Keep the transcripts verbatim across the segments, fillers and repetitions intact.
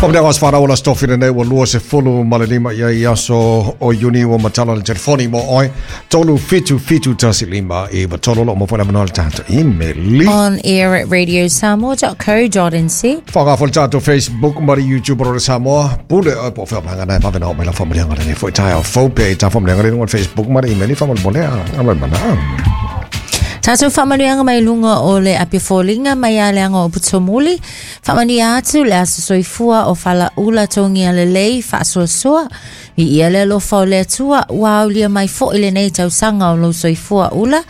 Whamanianga o sawhana ola stofina nei ua lua se fulu ma le lima ia i aso o Iuni ua matala le telefoni mo oi tolu fitu fitu tasi lima i wa tolu lo mo whana manoa le tātou imeli. On air at radio samoa dot co dot n z. Whakawha le tātou Facebook ma le YouTube o Samoa. Pule o po whaamanga nei mawena o mai la whamanianga nei fo i tai au faupe i tā whamanianga nei Facebook ma le imeli whamanianga molea. Amai mana. Tātou whamanuianga mai lunga o le apifolinga mai a leanga o putomuli. Whamania atu le aso soifua o whala ula tongi a le lei whaasoasoa. I ia le alofa o le atua, ua aulia mai fo i le nei tausanga o lo soifua ula.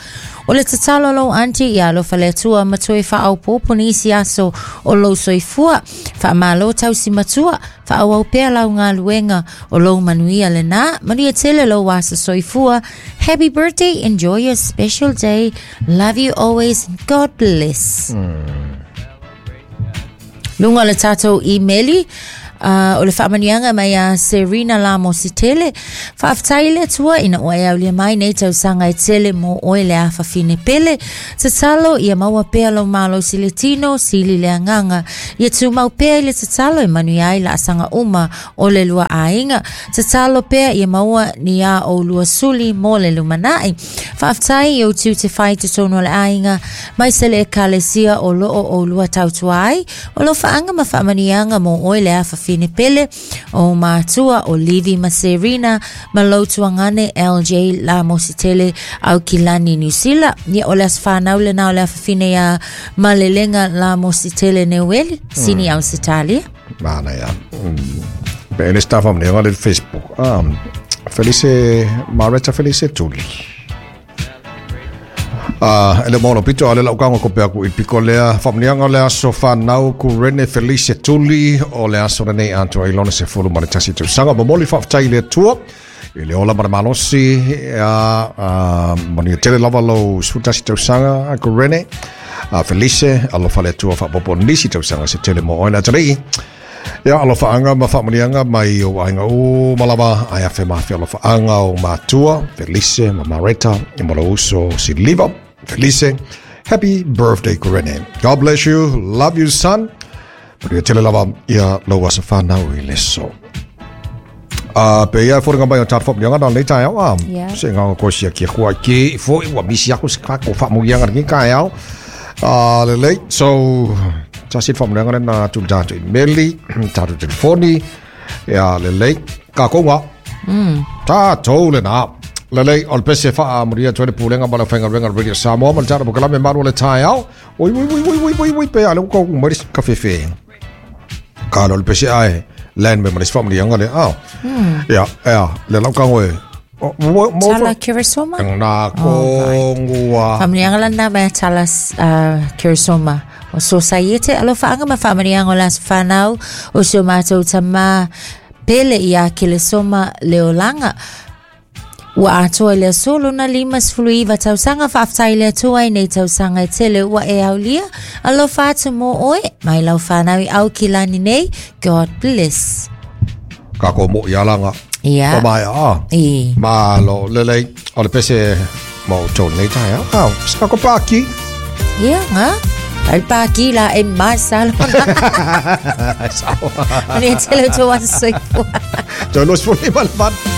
O le tatalo lou anti ia alofa le atua matoe whaaupopo ni isi aso o lou soifua. Whaamalo tausi matua, whaawau pea lau ngā luenga o lou manuia le nā. Manuia tele lou aso soifua. Happy birthday, enjoy your special day. Love you always, God bless. Mm. Lunga le tātou imeli. Uh, o le whaamanianga mai a Serena Lamositele. Whaaftai le atua ina oe aulia mai nei tausanga e tele mo oe le awhawhine pele. Tatalo ia maua pea lo malo si le tino, sili le anganga. Ia tūmau pea i le tatalo e manu ai la asanga uma o le lua ainga. Tatalo pea ia maua ni a o lua suli mo le lumanai. Whaaftai i o tiu te whai te tono le ainga. Mai se le ekalesia o loo o lua tautua ai. O lo whaanga ma whaamanianga mo oe le awhawhine pele o mātua o Livi ma Serena ma lautuangane L J Lamositele au kilani New Zealand. Ia o le aswhanau le nā o le awhawhine ia malelenga Lamositele Neueli sini mm. au Sitalia. Mana ia. Mm. Pe ele staff am le Facebook. Um, Felice Mareta Felice Tuli. Ah, ele mono pito ale lau kaunga ko pea ku i piko lea whamnianga lea so whanau ku Rene Felice Tuli o le aso nei antua i lona se fulu ma le tasi tausaga momoli whaaftai le atua i le ola ma le malosi a mania tele lava lau sefulu tasi tausaga ku Rene Felice alofa le atua whaapopo nisi tausaga se tele mo oina atalii. Ia alofa anga ma whaamanianga mai o ainga o malava ai afe mawhia alofa anga o matua Felice ma Mareta i mo uso si liva Felice, happy birthday, Kurene. God bless you. Love you, son. Maria tele lava ia lau asa whanau i leso. Uh, pe ia fōringa mai o tātou whaamanianga nā le tai au. Yeah. Se ngā kosia kia kua ki fo i ua misi ako se kako whaamuianga ni kai au. Uh, le lei. So, tasi whaamanianga nā tū tātou i meli, tātou telefoni. Ia le lei. Ka konga. Mm. Tātou le nā. Lelei, o le pese whaa muria tuene pūlenga ma le whainga renga Radio Samoa ma le tāna pokalame maru le tai au. Oi, oi, oi, oi, oi, oi, oi, pe ale uka uku maris ka whewhe. Ka lo le pese ai, lan me maris whaa muria le au. Ia, ia, le lau kango e. Tala Kirisoma? Nā kongua. Whaamanianga lana mea tala Kirisoma. O so saiete, alo whaanga ma whaamanianga o las whanau o sio mātou tama pele ia Kirisoma leolanga. Ua atoa le aso lona lima sefulu iva tausaga faafetai le Atua i nei tausaga e tele ua e aulia. Alofa atu mo oe, mai lau whanau i au kilani nei. God bless. Ka ko mo i alanga. Ia. O mai a. I. Ma lo lelei, o le pese mo tō nei tai au. Au, sa ko pāki. Ia, ngā. Al pāki la e mai salona. Sawa. Mani e tele tō aso soifua. Tō los fuli malfan.